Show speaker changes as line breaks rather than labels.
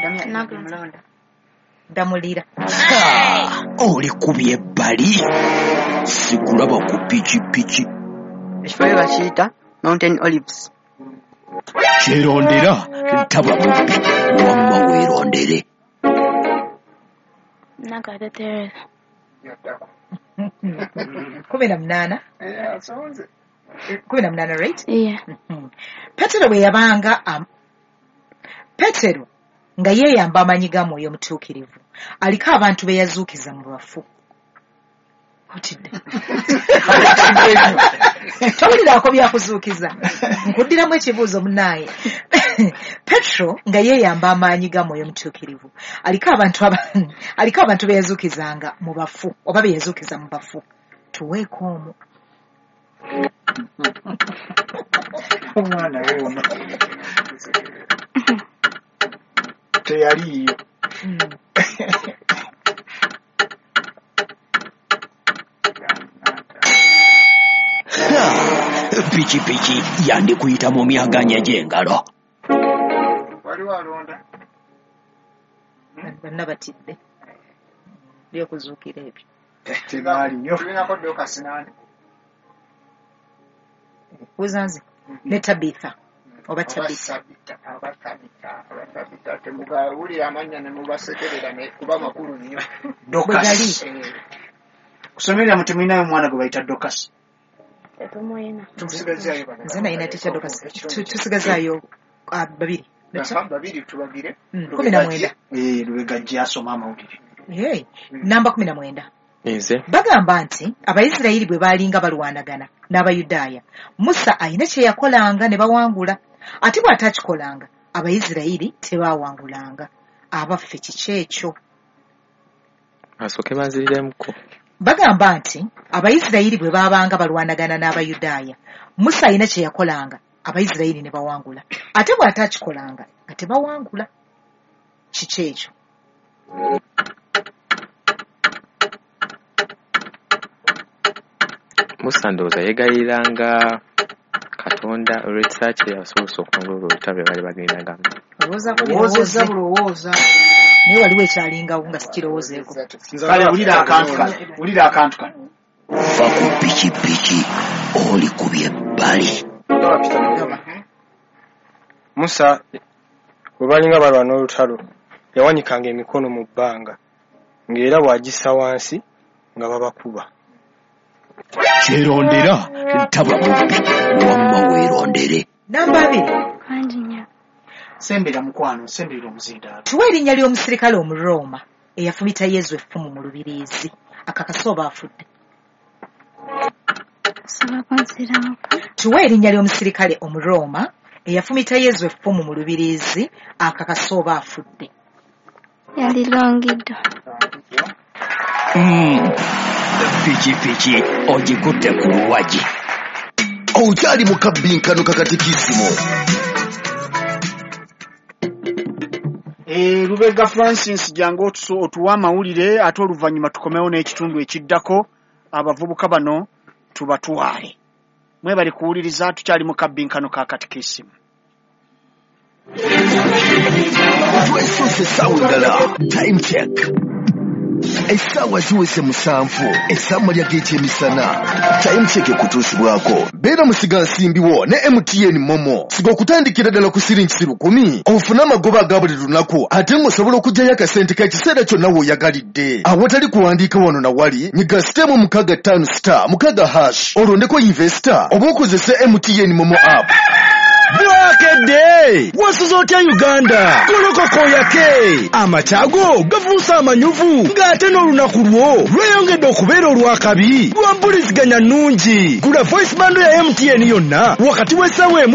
Nakulonda.
Ndamulira.
Oli kubye ebbali, sikulaba ku pikipiki.
Ekifo bwe bakiyita Mountain Olives.
Kyerondera taba mubbi, wamma weerondere.
Nagada Teresa.
Yaddako.
18.
Asonze.
18, right?
Yeah.
Petero bwe yabanga Petero nga yeeyamba amaanyi ga Mwoyo Mutuukirivu, aliko abantu be yazuukiza mu bafu. Otidde? Towuliraako byakuzuukiza? Nkuddiramu ekibuuzo, munaaye. Petero nga yeeyamba amaanyi ga Mwoyo Mutuukirivu, aliko abantu be yazuukizanga mu bafu oba be yazuukiza mu bafu. Tuweeko omu.
Omwana wuuno teyaliiyo.
Pikipiki yandikuyita mu myaganya gy'engalo.
Waliwo alonda.
Bonna batidde byokuzuukira ebyo.
Tebaaliyo. Tulinako Dokasi nani?
Buuza nze ne Tabitha oba Tabitha.
Tabita, aba Tabita, aba Tabita, temugawulira amannya ne mubasekerera, ne kuba makulu nnyo.
Bwe gali.
Dokasi.
Kusomerera mu temulinayo omwana gwe bayita Dokasi?
Tetumuyina.
Tusigazaayo bano.
Nze nalina teacher Dokasi. Tusigazaayo babiri.
Aha, babiri tubagire.
19.
Lubega ajja asoma amawulire.
Hey, namba 19.
Nze.
Bagamba nti Abayisirayiri bwe baalinga balwanagana n'Abayudaaya, Musa ayina kye yakolanga ne bawangula, ate bw'ataakikolanga Abayisirayiri tebaawangulanga. Abaffe, kiki ekyo?
Asooke banziriremuko.
Bagamba nti Abayisirayiri bwe baabanga balwanagana n'Abayudaaya, Musa ayina kye yakolanga Abayisirayiri ne bawangula, ate bw'ataakikolanga nga tebawangula. Kiki ekyo?
Musa ndowooza yeegayiriranga Katonda olw'ekisa kye abasobozesa okuwangula olwo olutalo lwe baali bagendangamu.
Olowoozaako?
Lowoozezza
Birowooze.
Bulowooza.
Naye waliwo ekyalingawo nga sikirowoozeeko.
Kale wulira akantu kano, wulira akantu kano.
Va ku pikipiki, oli kubye ebbali.
Musa bwe balinga balwana olutalo, yawanikanga emikono mu bbanga, ng'era bw'agissa wansi nga babakuba.
Kyerondera taba mubbi, wamma weerondere.
Namba 2.
Kangi nnyo.
Sembera mukwano, semberera omuzindaalo.
Tuwa erinnya ly'omusirikale Omurooma eyafumita Yezu effumu mu lubiriizi, akakase oba afudde.
Osobola kunziramuko?
Tuwa erinnya ly'omusirikale Omurooma eyafumita Yezu effumu mu lubiriizi, akakase oba afudde.
Yali Longido.
Pikipiki ogikutte ku luwagi.
Okyali mu kabbinkano kakatikisimu.
Lubega Francis, jangu otuwe amawulire, ate oluvannyuma tukomewo n'ekitundu ekiddako, abavubuka bano tubatwale. Mwebali kuwuliriza, tukyali mu kabbinkano ka katikisimu.
Twesuuse essaawa endala. Time check, essaawa ziweze 7 ez'amalya g'ekyemisana. Time check ekutuusibwako beera musigansimbiwo ne MTN MoMo. Siga okutandikira ddala ku siringisi 1000 ofune amagoba aga buli lunaku, ate ng'osobola okuggyayo akasente k'ekiseera kyonna w'oyagalidde awatali kuwandiika wano na wali. Nyiga star 65 star 6 hash, olondeko invest oba okozese MTN MoMo app.
Bwakedde wasuza otya Uganda? Golokokoyake amakyago gafuuse amanyuvu, ng'ate n'olunaku lwo lweyongedde okubeera olwakabi lwa mpuliziganya nnungi. Gula voice bundle ya MTN yonna wakati w'essaawa 1.